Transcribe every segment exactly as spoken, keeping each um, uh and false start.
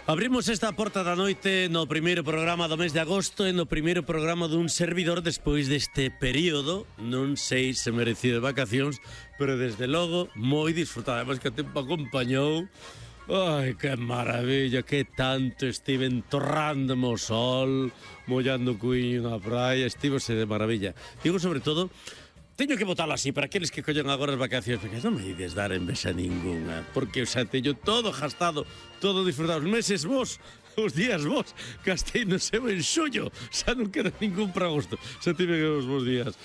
Abrimos esta porta da noite no primeiro programa do mes de agosto e no primeiro programa dun servidor despois deste período, non sei se merecido de vacacións, pero desde logo moi disfrutado, además que o tempo acompañou. Ai, que maravilla, que tanto estive entorrándome o sol, mollando o cuiño na praia, estivose de maravilla. Digo sobre todo, teño que botalo así para aqueles que collen agora as vacacións, porque non me ides dar envexa ninguna, porque o xa teño todo gastado, todo disfrutado. Os meses vos, os días vos, gastei no seu en xullo, xa non queda ningún para agosto, xa tive os vos días.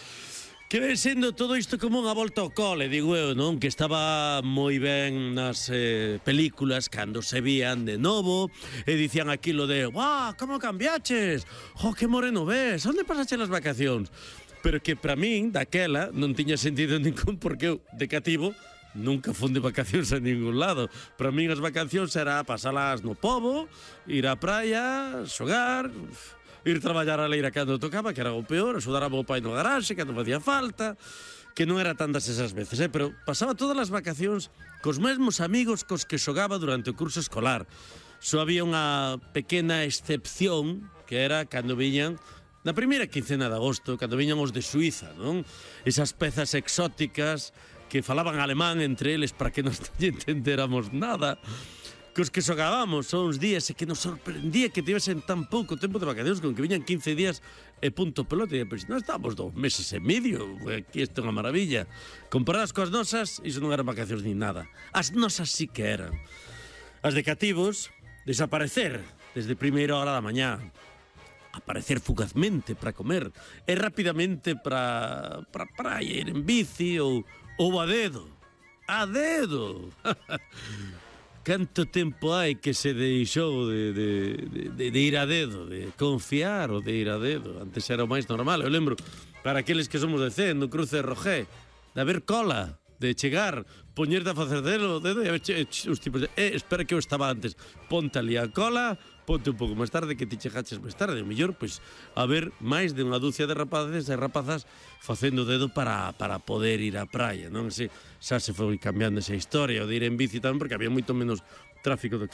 Que ven sendo todo isto como unha volta ao cole, digo eu, non? Que estaba moi ben nas eh, películas cando se vían de novo e dicían aquilo de «Uah, como cambiaches? Oh, que moreno ves? Onde pasaste as vacacións?» Pero que para min, daquela, non tiña sentido ningún porque eu, de cativo, nunca fun de vacacións a ningún lado. Para min as vacacións era pasalas no pobo, ir á praia, xogar, ir traballar a leira cando tocaba, que era o peor, axudar a meu pai no garaxe, cando facía falta, que non era tantas esas veces, eh? Pero pasaba todas as vacacións cos mesmos amigos cos que xogaba durante o curso escolar. Só había unha pequena excepción, que era cando viñan na primeira quincena de agosto, cando viñan os de Suiza, non? Esas pezas exóticas que falaban alemán entre eles para que nos entendéramos nada, cos que xogábamos son uns días e que nos sorprendía que tivesen tan pouco tempo de vacacións, con que viñan quince días e punto pelota, e pero non estábamos dos meses e medio, aquí isto é unha maravilla. Comparadas coas nosas, iso non eran vacacións ni nada. As nosas sí que eran. As de cativos, desaparecer desde primeira hora da mañá, aparecer fugazmente para comer e rapidamente para para praia, ir en bici ou, ou a dedo. A dedo! Canto tempo hai que se deixou de, de, de, de ir a dedo, de confiar ou de ir a dedo. Antes era o máis normal. Eu lembro, para aqueles que somos de C, no cruce de Rogé, de haber cola, de chegar, poñerte a facer dedo, dedo e os tipos de, eh, espera que eu estaba antes, ponte ali a cola, ponte un pouco máis tarde, que ti chegaches máis tarde, o mellor, pois, a ver máis de unha dúcia de rapaces e rapazas facendo dedo para, para poder ir á praia, non? Se, xa se foi cambiando esa historia, o de ir en bici tamén, porque había moito menos tráfico do